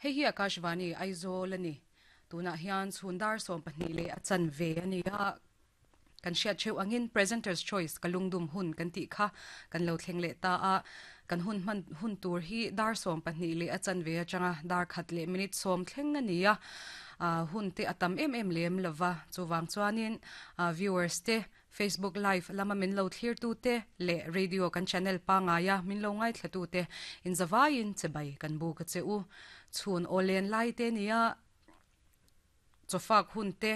Hei hi Akashvani Aizawl a ni. Tunah hian chhun dar 12 leh a chanve a ni a, kan hriat theuh angin Presenter's Choice ka lungdum hun kan tih kha kan lo thleng leh ta a. Kan hun hman hun tur hi dar 12 leh a chanve atanga dar khat leh minute 10 thleng a ni a. Hun te a tam em em lem lova, chuvang chuanin viewers te Facebook live lama min lo thlirtute leh radio kan channel pangaia min lo ngaithlatute inzavaiin chibai kan buk a che u. Chhun aw len lai te nia chawfak hun te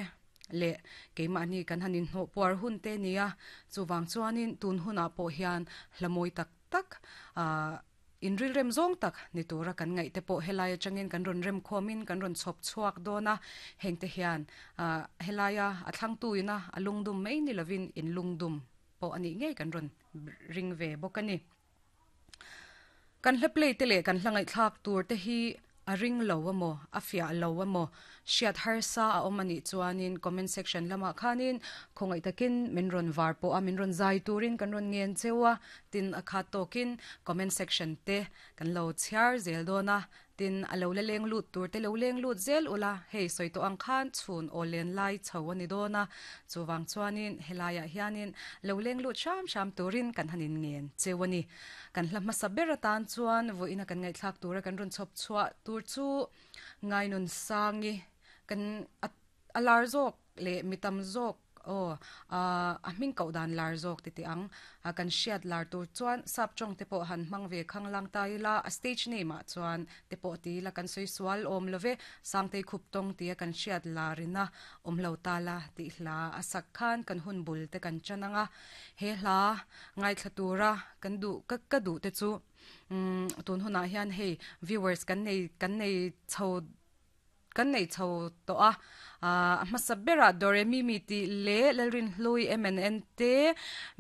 leh keimahni kan han inhnawh puar hun te nia chuvang chuanin tun hunah pawh hian hla mawi tak tak ahh Inrilrem zawng tak ni tura kan ngaih te pawh helai atangin kan rawn remkhawmin kan rawn chhawp chhuak dawn a, hengte hian helaia a thlangtu ina a lungdum mai ni lovin in lungdum pawh a nih ngei kan rawn ring ve bawk a ni. Kan hla play te leh kan hla ngaihthlak tur te hi A ring lo emaw, a fiah lo emaw, hriat harsa a awm a nih chuanin comment section lamah khanin khawngaih takin min rawn var pawh a, min rawn zai turin kan rawn ngen cheu a, tin a khat tawkin comment section te kan lo chhiar zel dawn a, tin a lo la leng lut tur te lo leng lut zel ula, hei sawi tawh ang khan chhun aw len lai chho a ni dawn a, chuvang chuanin helaiah hianin lo leng lut hram hram turin kan han inngen cheu a ni. Kan hla hmasa ber atan chuan vawiina kan ngaihthlak tura kan rawn chhawp chhuah tur chu Ngainunsangi kan a lar zawk leh mi tam zawk aw a hming koh dan lar zawk ti teh ang. Kan hriat lar tur chuan sap tawng te pawh han hmang ve khang lang ta ila a stage name ah chuan te pawh ti ila kan sawi sual awm lo ve. Sangtei khup tawng tia kan hriat larina awm lo ta la tih hla a sak khan kan hun bul te kan chan ang a. He hla ngaithla tura kan duh ka ka duh te chu umm tun hunah hian hei viewers kan nei kan nei chho kan nei chho tawh a ah a hmasa berah Doremimi tih leh Lalrinhlui MNN te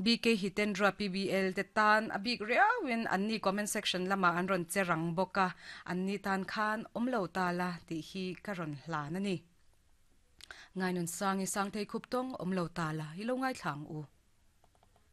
BK Hitendra PBL te tan a bik riauin anni comment section lamah an rawn che rang bawk a anni tan khan awm lo ta la tih hi ka rawn hlan a ni. Ngainunsangi Sangtei Khuptawng awm lo ta la i lo ngaithla ang u.